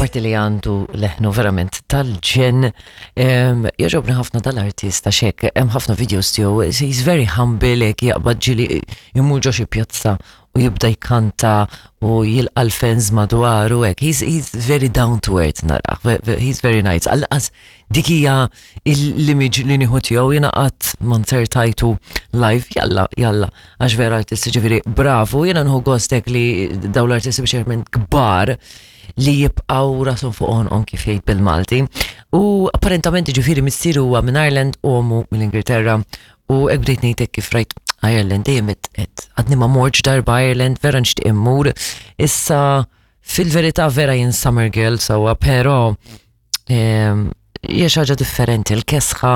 Apparti li għandu leħnu verament tal-ġen, jogħġobni ħafna dal-artista xek, hemm ħafna videos tiegħu, he's very humble, hekk jaqbad ġili jmur ġo xi pjazza u jibda jkanta u jilqa' l-fans madwaru hekk. He's, he's very down to earth narah, he's very nice. Għall-qas dik hija l-image li nieħu tiegħu jiena qatt ma nsertajtu live, jalla, jalla, għax vera artist ġifieri bravu, jiena nħu gost hekk li dawn l-artisti biex minn kbar li jibqgħu rashom fuq għonqhom kif jgħid bil-Malti. U apparentament ġifieri missieru huwa minn Ireland u ommu mill-Ingilterra u hekk bdejt ngħid hekk kif rajt Ireland dejjem qed għadni ma mortx darba Ireland vera nixtieq immur. Issa fil-verità vera jien summer girl sewwa, però hija xi ħaġa differenti l-kesħa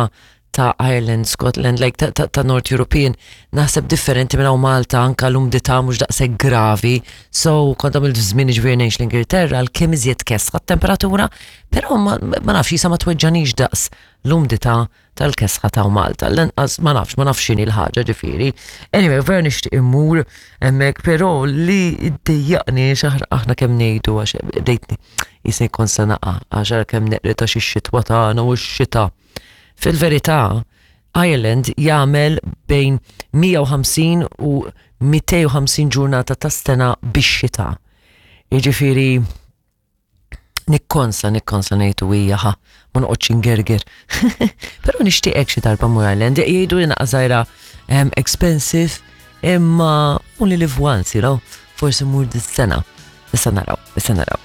ta' Ireland, Scotland, like ta', ta, ta North European, naħseb differenti minn hawn Malta anka l-umdità mhux daqshekk gravi. So kont għamilt żmien ġifieri ngħix l-Ingilterra l-kemm iżjed kesħa t-temperatura, però ma, ma nafx jisa ma tweġġanix daqs l-umdità tal-kesħa ta' Malta. L-inqas ma nafx, ma nafx x'inhi l-ħaġa ġifieri. Anyway, vera nixtieq immur hemmhekk, però li ddejjaqni xaħr aħna kemm ngħidu għax bdejtni jisni kont se naqa' għax ara kemm neqri ta' xi xitwa tagħna u x-xita. Fil-verità, Ireland jagħmel bejn 150 u 250 ġurnata ta' sena bix-xita. Jiġifieri nikkonsa, nikkonsa ngħid u hija ħa, ma noqgħodx ingerger. Però nixtieqek xi darba mur Ireland, jgħidu li naqa' żgħira expensive, imma only live once, you know, forsi mur dis-sena. Issa naraw, issa naraw.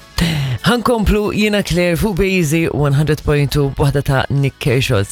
Ħankomplu jiena Claire fuq Bejzi 100.2 b'waħda ta' Nick Kershaw.